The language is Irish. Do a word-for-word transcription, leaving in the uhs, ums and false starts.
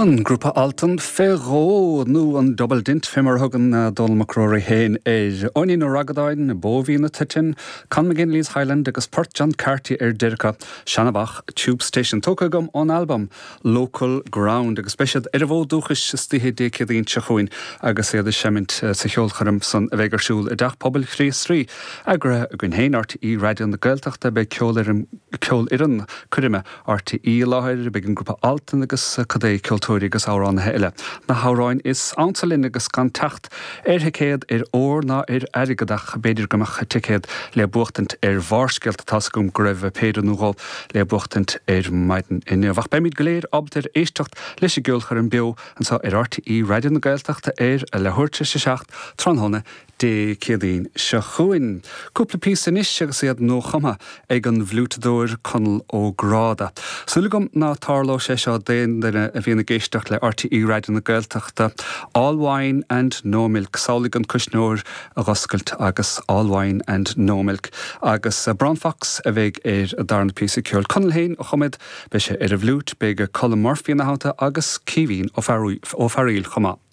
An grúpa Altan fé dhó nó an Double Dint fé mar a thugann Dónall Mac Ruairí féin air. Eoinín Ó Ragadáin, Bó Mhín Tuitin, Con McGinley's Highland agus Port John Carty ar deireadh Seanamhach Tube Station tógtha agam ón albam Local Ground agus beidh siad ar an bhfód dúchais istoíche Dé Céadaoin seo chugainn agus iad ag seimint sa cheolchoirm san a bheidh ar siúl i dTeach Pobail Chríost Rí. Eagraithe againn féin R T É Raidió na Gaeltachta. Beidh ceolfhoireann coirme R T É i láthair, beidh an grúpa Altan agus cuid ceoltóirí agus amhránaithe eile. Na hamhráin is ansa linn agus gan teacht ar thicéad ar ór ná ar airgead, ach b'fhéidir go mbeadh ticéad le buachtaint ar Bharrscéalta. Tá a fhios agam go raibh péire nó dhó le buachtaint ar maidin inniu. Ach beimid go léir ábalta ar éisteacht leis an gceolchoirm beo anseo ar R T É Raidió na Gaeltachta ar a leathuair tar éis a seacht tráthnóna Dé Céadaoin seo chugainn. Cúpla píosa anois agus iad nuachumtha ag an bhfliúiteadóir Conall Ó Gráda. Súil agam ná tarlóidh sé seo d'aon duine a bhíonn ag éisteacht le R T É Raidió na Gaeltachta. All Wine and No Milk. Samhlaigh an cuisneoir a dh'oscailt agus All Wine and No Milk. Agus Brown Fox a bheidh ar an darna píosa ceoil. Conall féin a chum iad, beidh sé ar an bhfliúit, beidh Colm Murphy ina theannta agus Caoimhín Ó Fearghaíl chomh maith.